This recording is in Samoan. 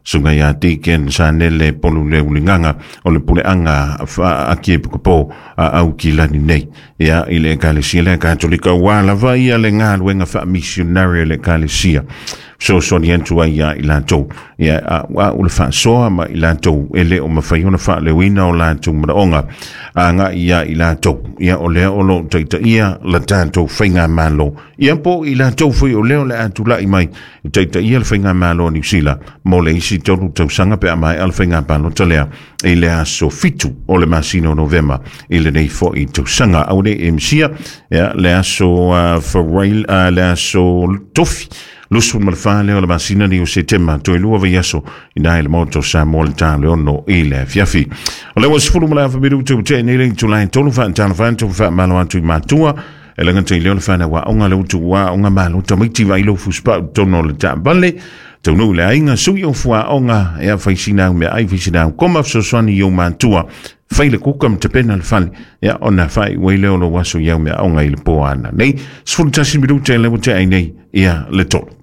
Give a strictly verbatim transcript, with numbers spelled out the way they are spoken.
Suga ia Deacon Sanele Polu le uligaga o le puleaga Akiepukapo a Aukilani nei ia i le Ekalesia lea Katolika ua lava ia le galuega faamisionari a le Ekalesia fesoasoani atu ai ia i latou ia a ua le faasoa ma i latou e le o mafai ona faaleoina o latou manaoga agai ia i latou ia o lea o loo taitaia la tatou faigamalo ia po i latou foi o lea o le a tulai mai e taitaia le faigamalo a Niusila mo le isi tolu tausaga pe a maea le faigapalota lea i le aso fitu o le masina o Novema i lenei foi tausaga au nei e misia ia le aso uh, Farail, uh, le aso Tofi lusu ma le fa lea o le masina ni o Setema toe lua vaiaso ina i le Maota o Samoa le ta le ono i le afiafi. O le ua sefulu ma le afa minute ua tea nei le itula e tolu faatalofa atu faamalo atu i matua e laga tai leo le whanau aoga le utu aoga malo tamaiti vai lo fusipau tonu o le taavale taunuu le aiga sui o fuaoga e faisina au meaai faisina au koma fesoasoani i ou matua fai le kuka ma tapena le fale ia ona faaiu ai lea o lou aso i au meaaoga i le po ana nei. Sefulu tasi minute le ua tea ai nei ia le tolu.